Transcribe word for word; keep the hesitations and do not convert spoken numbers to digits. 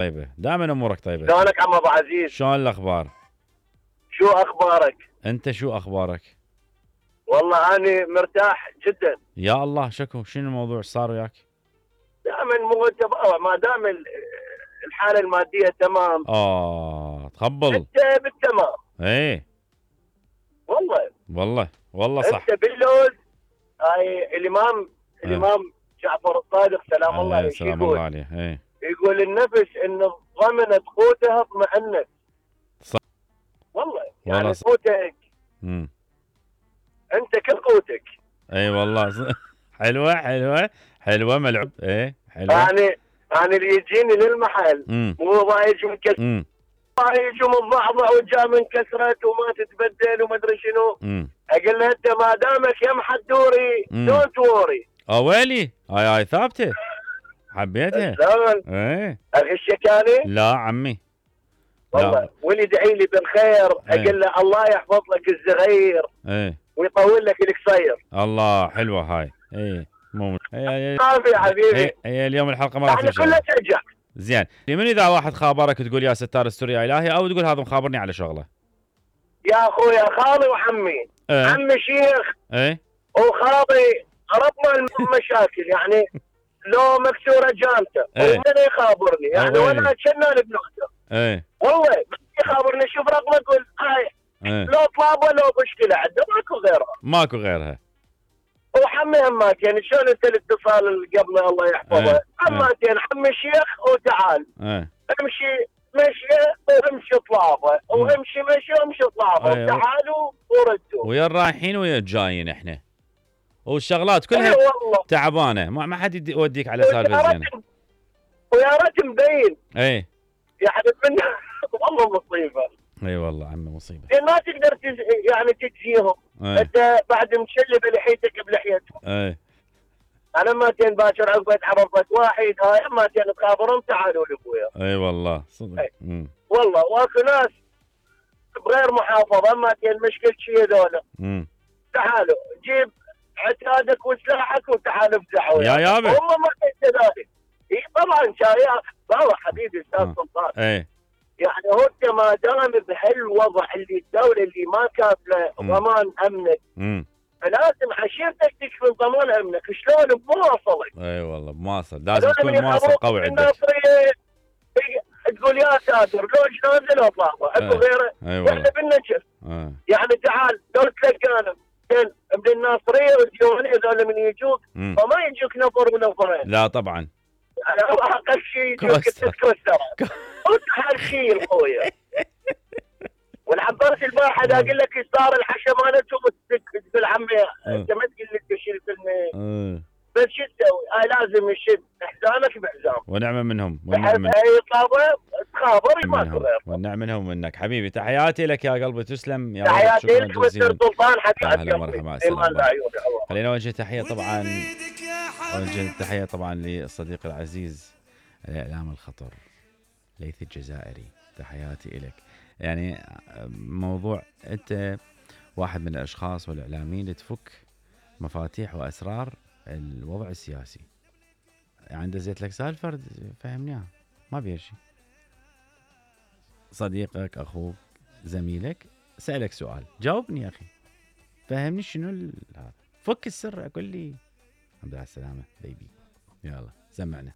طيبة، دائما امورك طيبة. شلونك عم ابو عزيز؟ شلون الاخبار؟ شو اخبارك؟ انت شو اخبارك؟ والله اني مرتاح جدا. يا الله، شكو شنو الموضوع صار وياك؟ دائما مو ما دام الحالة المادية تمام. اه تخبل. انت بالتمام. ايه والله والله والله صح. انت باللوز. هاي الامام ايه. الامام جعفر الصادق سلام الله عليه عليه سلام يقول الله عليه. ايه يقول النفس ان ضمنت قوتها اطمأنت. صح والله والله يعني صح. قوتك امم انت كل قوتك. اي والله صح. حلوة حلوة حلوة ملعوب. ايه حلوة. يعني يعني اللي يجيني للمحل امم مو ضايج من كسر امم ضايج ومتضعضع وجاء من كسرت وما تتبدل وما ادري شنو. امم اقول له انت ما دامك يم حدوري دونت ووري. اه ويلي هاي هاي ثابتة حبيتها. شلون؟ ايه اغشك اني؟ لا عمي والله واللي يدعي لي بالخير ايه. اقول له الله يحفظ لك الصغير ايه ويطول لك القصير. الله حلوة هاي. ايه مو هي ما في حبيبي. هي, هي اليوم الحلقة ما راح احنا تمشي. كلها ترجع. زين من اذا واحد خابرك تقول يا ستار استر يا الهي، او تقول هذا مخابرني على شغله؟ يا اخويا خالي وعمي. ايه. عمي شيخ ايه وخالي ربنا المشاكل يعني لو مكسوره جامته ايه. ومن يخابرني يعني أوي. وانا شنان بنقطه. ايه والله يخابرني شوف رقمه يقول هاي ايه لو طلبه لو مشكله عنده ماكو غيرها. ماكو غيرها. وحمي هماتين شلون انت الاتصال اللي قبله الله يحفظه. ايه. هماتين حمي شيخ وتعال. ايه امشي مشي وامشي طلابه وامشي مشي وامشي طلابه ايه. وتعالوا وردوا. ويا الرايحين ويا الجايين احنا، والشغلات كلها اي والله تعبانه، ما ما حد يوديك على سالفه زينه. ويا ريت مبين اي يعني من والله مصيبه. اي والله عمي مصيبه. لان ما تقدر تز... يعني تجزيهم. ايه. انت بعد مشلب لحيتك بلحيتهم. اي انا ماتين باكر عقبه عرفت واحد هاي ماتين تخابرهم تعالوا لابويا. اي والله صدق. اي والله واكو ناس بغير محافظه ماتين مشكل شيء هذول. امم تعالوا جيب عتادك وسلاحك وتعال افزعوا يا يابا. هم ما كذلك. اي طبعا شايع والله حبيبي استاذ سلطان. اي يعني هو انت ما دام بهالوضع اللي الدوله اللي ما كافله ضمان امنك امم فلازم عشيرتك تكفي ضمان امنك. شلون بمواصلك؟ اي والله بمواصل لازم تكون مواصل قوي عندك. تقول يا ساتر لو نازل اطلعه اكو غيره. اي والله احنا بالنجف. يعني تعال لو تلقانا من الناصريه والديوانيه هذول من يجوك فما يجوك نفر ونفرين. لا طبعا على اقل شيء يجوك تتكسر وتحال شيء خويا. والعباس الباحد اقول لك صار الحشا مالتهم تقول عمي انت ما تقول لي تشيل كلمه بس شو تسوي؟ هاي لازم يشد حزامك بحزام. ونعمه منهم ونعمه منهم. هاي طابه تخابر ماكو غير. ونعمه منهم ومنك حبيبي. تحياتي لك يا قلبي تسلم يا تحياتي لك مستر سلطان حتى اهلا ومرحبا. خلينا نوجه تحيه طبعا وجه تحيه طبعا للصديق العزيز الاعلام الخطر ليث الجزائري. تحياتي لك. يعني موضوع انت واحد من الاشخاص والاعلاميين اللي تفك مفاتيح واسرار الوضع السياسي. عنده زيت لك سالفه فرد فهمنيها ما بيها شيء. صديقك اخوك زميلك سالك سؤال جاوبني يا اخي فهمني شنو هذا. فك السر قول لي الحمد لله على السلامه بيبي. يلا سمعنا.